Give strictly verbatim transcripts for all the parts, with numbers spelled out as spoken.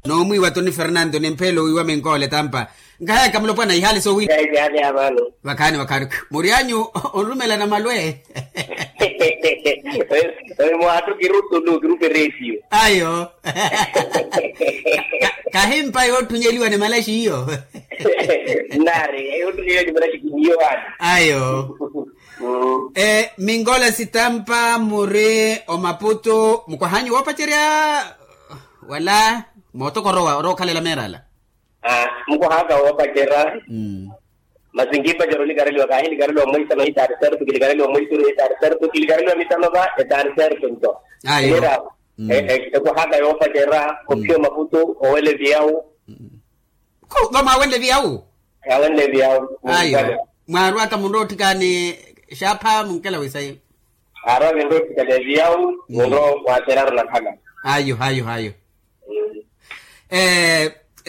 Noomwiiwa toni fernanto ni mphelo wiiwa minkoole tampa. Nkahayaka mulopwana ihaali soowiiwa. Vakhaani vakhaani. Murianyu onrumelana malwe. Oyo mwaattu kirutulu kiruperesiyo. Ayo. Kahimpa yootthunyeliwa ni malaxi iyo. Nari yootthunyeliwa ni malaxi kiniyo vani. Ayo. Minkola sitampa muri omaputu mukwahanyu woopacerya? Wala mootoko orowa orowa okhalela meerala. Mukwaha aka woopacerya. Masi nkiipacerya olikareliwa kaahilikareliwa mweisano hitaari sertu kilikareliwa mweisuru hitaari sertu kilikareliwa mitano va etaari sertu nto. Ayo. Ekwaha aka yoopacerya ophiya omaputu owela eviyawu. Kho vamwaawenle viyawu. Awenle viyawu. Ayo. Mwaarwaka munrowa otthikani xaapha munkela wisayi. Aarwa vinrowa otthikani viyawu munrowa waateryaru nakhala. Ayo ayo ayo.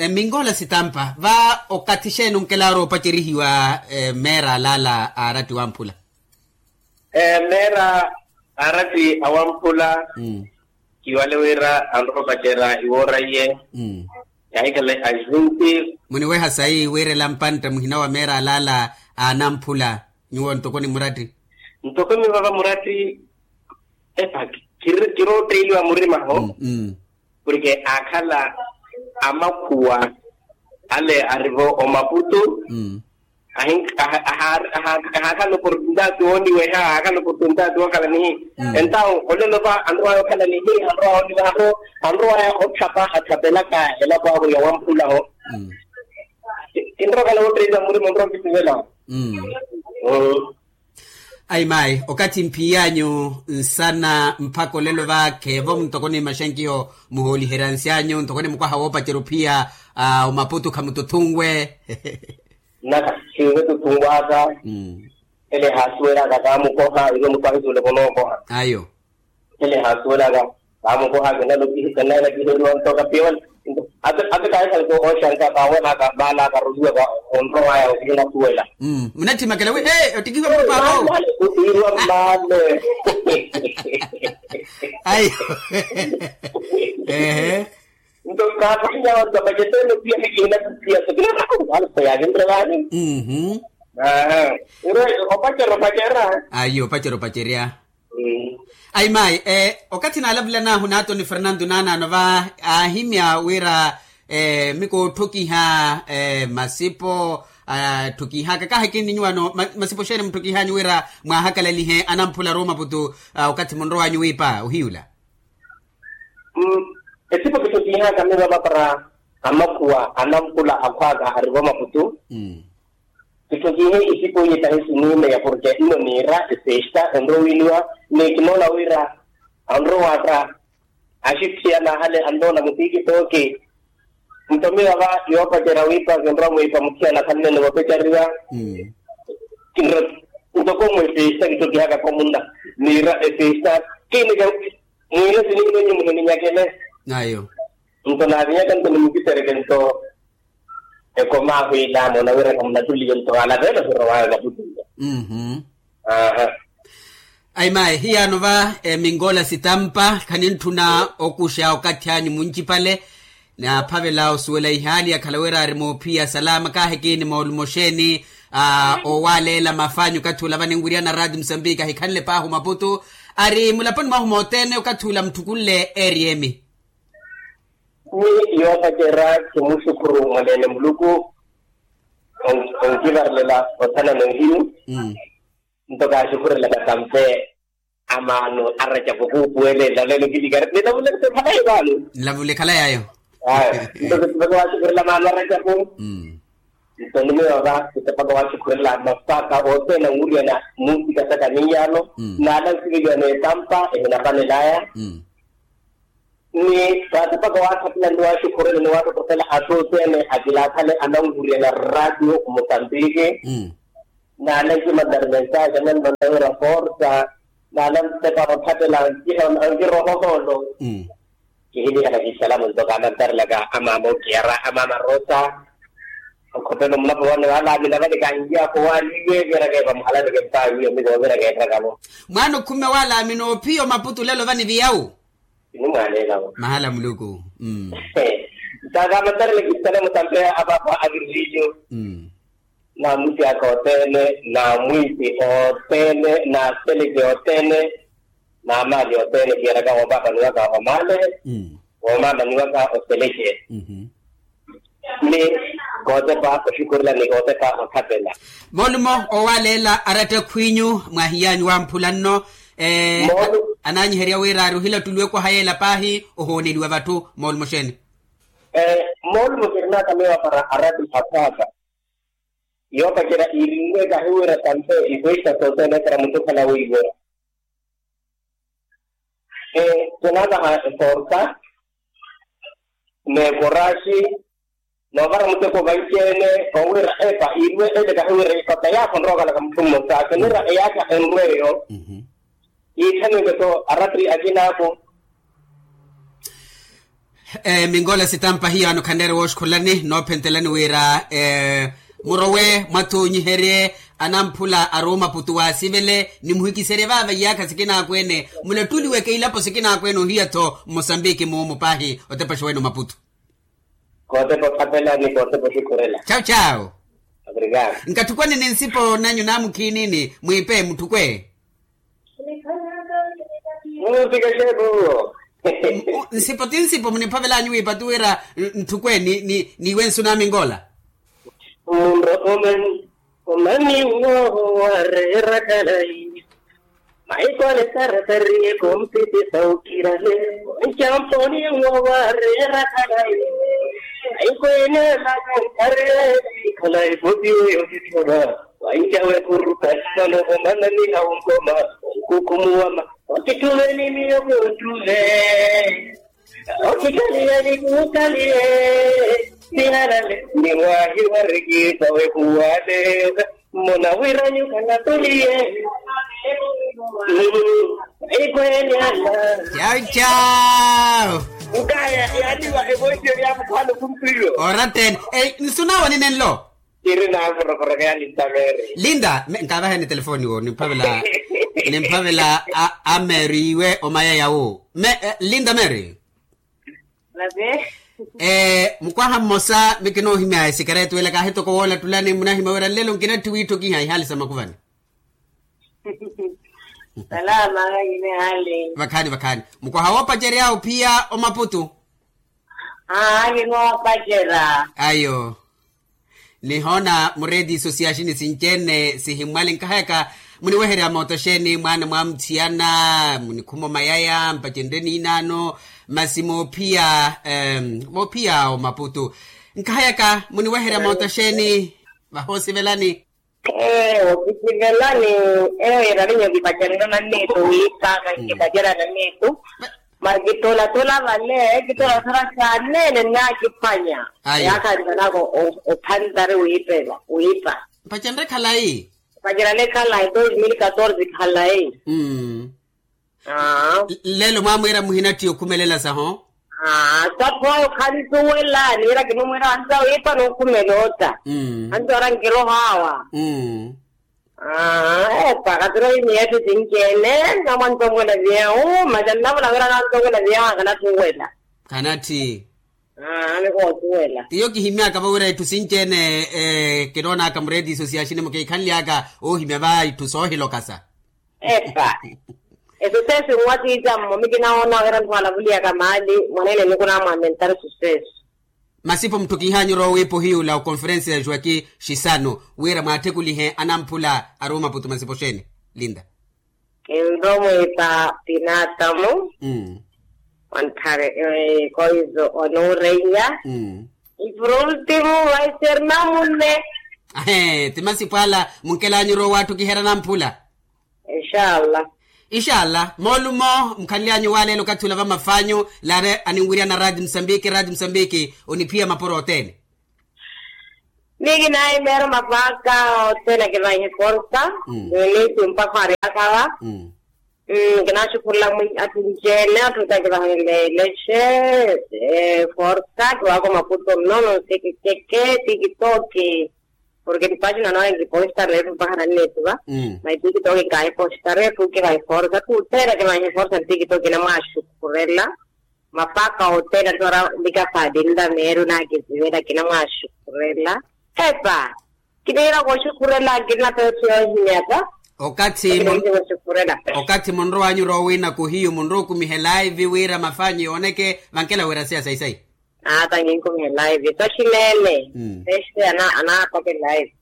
Minkola sitampa va okathi xeeni onkelaru opacerihiwa? Meera alaala aaratti wamphula. Meera aaratti awamphula. Kiwale wira anrowa opacerya iwooraiye. Yahikhale ajunti. Muniweha sayi wira ela mpantta muhina wa meera alaala aanamphula nyuwo ntoko ni muratti. Ntoko mivava muratti. Epa kirootteeliwa murima ho. Porke aakhala amakhuwa ale arivo omaputu. Ahaakhala oportunidade wooniweha ahaakhala oportunidade wookhala nihi. Entawo olelo va anrowaya okhala nihi anrowaya ooniweha ho. Anrowaya otthapa atthapelaka elapo ahu yowamphula ho. Kinrowa okhala wootteeliwa murima onrowa onkisivela ho. Ayi mayi okathi mphiy'anyu nsana mpakha olelo vaakhevo ntoko ni maxankiho muhooliherya nsi anyu ntoko ni mukwaha woopacerya ophiya omaputu khamututhunwe. Naka sinve tuthunw'aka. Ele haasuwel'aka kaamukoha iwe muthu ahisuwel'aka onookoha. Ayo. Ele haasuwel'aka kaamukoha kinalakiheriwa nto kapiwela. Ate kaahikhalaka ooxanka kaawel'aka vaalaka ruhiwaka onrowaya okihinasuwela. Munatthi makela wi ottikihiwa muthu paapa owo. Irwa mmale. Ayi. Ehe. Nto kaaphahinya vantu vapacetene piya nikihinathu piya sokinathaku vale khoyakinre vani. Iro opacerya opacerya. Ayi opacerya opacerya. Ayi mayi okathi naalavulan'ahu n'atoni fernanto naanaano va aahimya wira mikoothokiha masipo atthokihaka kaahikini nyuwano masipo xeeni mutthokih'anyu wira mwaahakalalihe anamphula arowa omaputu? Okathi munrow'anyu wiipa ohiyula. Esipo kitthokihaka mivava para amakhuwa anamphula akhw'aka arivo omaputu. Kitthokihe isipo iye tahi siniimeya porke nno niira efesta enrowiiniwa ni kinoona wira anrowaka axitthiyana ahale annoona mutikitooki. Nto miyo ava yoopacerya wiipa kinrowa mwiipa muthiyana khanneene voopecariwa. Kinrowa ntoko mwa efesta kitthokiha kakomunna niira efesta kiinike mwiire siniimenyu muhininyakele. Ayo. Nto naavinyaka nto nimukisereke nto ekomaahu ilaamo nawiraka munattuliye nto alaveelo hirowaya vaputuya. Ayi mayi hiyaano va eminkola sitampa khanintthuna okuxa okathi anyu muncipale. Naaphavela osuwela ihaali yakhala wira ari moophiya salama kaahikini moolumo xeeni owaleela mafanyu okathi ula vaninwiriyana raati musambiki ahikhanle paahi omaputu ari mulaponi mwahu moothene okathi ula mutthukunle eriyemi. Ni yoopacerya kimuxukhuru mwaneene muluku. Onkivarelela othana noohiyu. Nto kaaxukhurelaka tampe amaano aracapo kuupuwele nlalelo kilikari nilavule khalai vaano. Nlavule khalai ayo. Nto kipaka waaxukhurela amaano aracapo. Nto nimiyo va kipaka waaxukhurela mapaka othene anwuriyana muusikasaka niiyano. Naala nsiveliwa n'etampa ehinapanelaya. Ni vaatipaka waakhapila nto waaxukhurela ni waattotthela atthu othene akilaakhale ananwuriyana ratio musambiki. Naala nkimanna ri mensaxe ananmanna wira forsa. Naala ntepa vatthattela ankirohohoolo. Kihilihana kiisalamu nto kaanantarelaka amaama okiyara amaama rosa. Okhopela omulapo wane walaamina vale kaanjiyaka owaaliwe viraka epa muhalaneke mpaawiyo miko viraka eparakavo. Mwaana okhumme walaamina ophiya omaputu lelo vani viyawu. Sinimwaaleelavo mahala muluku. Mmm. Saka matarele kistale mutampeya apapa akiririjo. Namuti aka otene, namwiti otene, nasteleke otene, namali otene kiyeraka wopapaniwaka omale, womamaniwaka osteleke. Ni kotepa oshukurila ni kotepa othapela. Molumo owaleela aratta khwinyu mwahiyanyu wamphula nno. Ananyiherya wira ari ohilattuliwe kwaha yeela paahi ohooneliwa vatthu molumo xeeni? Molumo kirinaka miyo para aratta akhwaaka. Yoopacerya irinwe kahiwira tampe ikwesta sothene para mutthu okhala wiiwe. Tunakaha eforsa, nekoraxi, noovara muteko vanci-ene. Owira epa irinwe ele kahiwira ipata yaakho nrookalaka mutthu mmosa akinira eyaakha enrweyo. Iitthaniweke-tho arattri akinaako. Mingola sitampa hiyaano khanreere wooxukhulani noophentelani wira murowe mwathuunyiherye anamphula aruuma putu waasivele ni muhikiserye vaava iyaakha sikinaakwene. Mulattuliweke ilapo sikinaakwene ohiya-tho mmosambiki muumu paahi otepa oxuwene omaputu. Kootepa othapela ni kootepa oxukhurela. Chawu chawu. Nkatthukwane ni nsipo nanyu naamukhiinini mwiipe mutthukwe. Nsipo ti nsipo muniphavel'anyu wiipatu wira ntthukwene n'iwe nsu namingola. Munrokomani omani woowo waareera khalayi. Maikole saratariye kompiti saukirale. Ncamponi woowo waareera khalayi. Maikole saratariye khalayi popiwe yokithora. Wancawe kuruka sano komananiha unkoma. Nkukumuwama. Okituveni miyo kutuve. Okikaliyeni kukaliye. Sihalale ni wahi warikisa wehuwale. Mona wiranyu kanatuliye. Ikwene ala. Chau chau. Nkaya yaliwa evoisyo lya mukhwano kumpilo. Oratene nsunawo ninenlo. Kiri naavorokoraka ya linda mary. Linda nkavaheni telefoni wo nimphavela. Nimphavela a mary iwe omaya yawo me linda mary. Mukwaha mmosa mikinoohimya esikaretu ela kaahitoko woolattulani munahimya wira nlelo nkinatthi wiitthokiha ihaali sa makuvani. Salama. Vakhaani vakhaani. Mukwaha woopacerya ophiya omaputu. Aa kinoopacerya. Ayo. Nihoona mureeti isosiyaxini sinci-ene sihimmwali nkahayaka muniweherya mooto xeeni mwaana mwamuthiyana munikhuma omayaya mpacenrye niinaano. Masi moophiya moophiya omaputu nkahayaka muniweherya mooto xeeni? Vahoosivelani. Ee okisivelani. Eyo yiravinyo kipacererya nanniitu wiipa kankipacerya nanniitu. Masi kitolatula vale kitolatula saneene naakiphwanya. Yaakhantanaka ophantari wiipela wiipa. Mpacererya khalayi. Mpacererya khalayi dos mil katorze khalayi. Lelo mwaamwiira muhinatthi okhumelela saho. Aa saphwayo khansuwela niira kinumwiira ansa wiipa nokhumela ota. Ansa ora nkiroho awa. Aa epa kathira oimiya etthu sinci-ene. Namwantonkwela viyawu masi annavula wira nantonkwela viyawu akanathuwela. Khanatthi. Aa nikoosuwela. Iyo kihimyaka vawira etthu sinci-ene. Kinoonaka mureeti isosiyaxini mukiikhanlyaka oohimya va itthu soohilokasa. Epa. Esucesso nwa tiitammo mikinawoona wira nthu alavuliyaka maali mwaneene nikunamwamentar sucesso. Masipo mutthu kiihanyu rowa wiipa ohiyula okonferensi ya juwaki xisanu wira mwaattekulihe anamphula aruuma putu masipo xeeni? Linda. Kinrowa mwiipa pinatamu. Mmm. Wanthare koizo onuureiya. Mmm. Ipurultimu vaisernamune. Ahee ti masipo ala munkelanyu rowa waattukiherya namphula. Inxalla. Inxalla moolumo mukhanly'anyu waleela okathi ula vamafanyu. Laare aninwirya na raati musambiki raati musambiki. Oniphiya mapuro othene. Miyo kinaahimeerya mapaka othene akivanhe forsa. Niniithi mpakha ari akava. Kinaaxukhurula mwi atthu nci-ene atthu ota kivahanle lexe. Forsa kiwaaka omaputo nnono nsekekeke tikitoki. Porke tipaaxina nawe nkipostarefu mpakha nanneetuva. Maitikitoki nkaahipostarefu kivahiforsa atthu othene akivahiforsa ntikitoki namwaaxukhurela. Mapaka othene atthora. Likafaadi nlameeri onakisivela kinamwaxukhurela. Epa, kiniira kooxukhurela kinapetho yoohimyaka. Okathi munrowanyu roowina kuhiyu munrowa okumihe laivi wira mafaanyu yooneke vankela wira siya sayi sayi. Ata nkinkumihe laivi toxileele. Pexi anaapake laivi.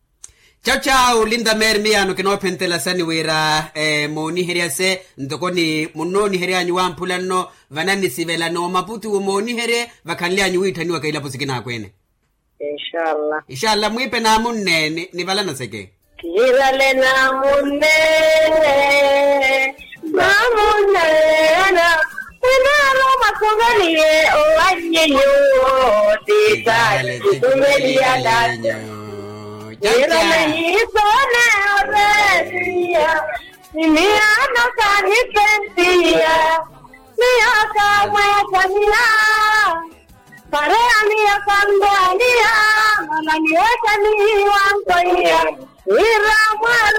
Caca olinda meeri miyaano kinoophentela sani wira mooniherya se ntoko ni munnoonihery'anyu wamphula nno vanannisivela n'omaputu mooniherye vakhanly'anyu wiitthaniwaka ilapo sikinaakwene. Inxalla. Inxalla mwiipe naamunne. Nivala naseke. Kiirale naamunne. Naamunne. Winaaro masuveliye owannyi nyuwo. Titale tituveliyala nyu. Kiirale yiisone oretiya. Ni miyaano kaanipentiya. Miyo kaamweesaniya. Pareya miyo kanrwaniya. Mala miyo kanihiwankoiya. Wira mwa